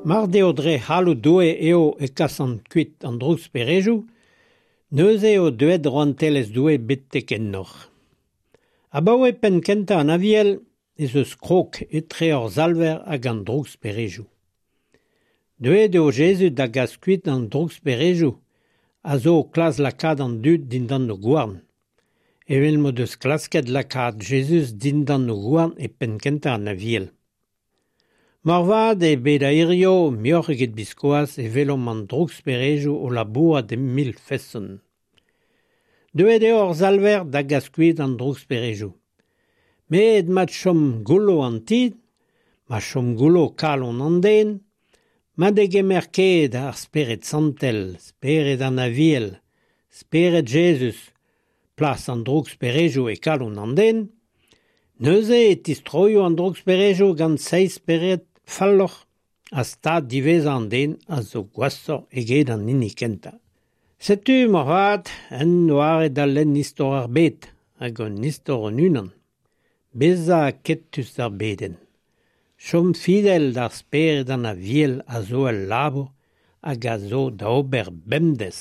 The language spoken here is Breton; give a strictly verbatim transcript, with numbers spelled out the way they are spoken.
Mar deo dre c'halloud Doue eo e kasan kuit an drouksperejoù, neuze eo deuet rouantelezh Doue betek ennoc'h. Abaoe penn kentañ an Aviel ez eus krog etre hor Salver hag an drouksperejoù. Deuet eo Jezuz da gas kuit an drouksperejoù a zo o klask lakaat an dud dindan o gouarn. Evel m'o deus klasket lakaat Jezuz dindan o gouarn e penn kentañ an Aviel. Moarvat e bed a-hirio muioc'h eget biskoazh e welomp an drouksperejoù o labourat e mil feson. Deuet eo hor Salver da gas kuit an drouksperejoù. Met ma chom goullo an ti, ma chom goullo kalon an den, ma degemer ket ar Spered Santel, Spered an Aviel, Spered Jezuz, plas an drouksperejoù e kalon an den, neuze e tistroio an drouksperejoù gant seizh spered falloc'h ha stad diwezhañ an den a zo gwashoc'h eget an hini kentañ. Setu moarvat un doare da lenn istor ar bed hag hon istor hon-unan. Bezañ aketus d'ar bedenn. Chom fidel d'ar Spered an Aviel a zo ul labour hag a zo da ober bemdez.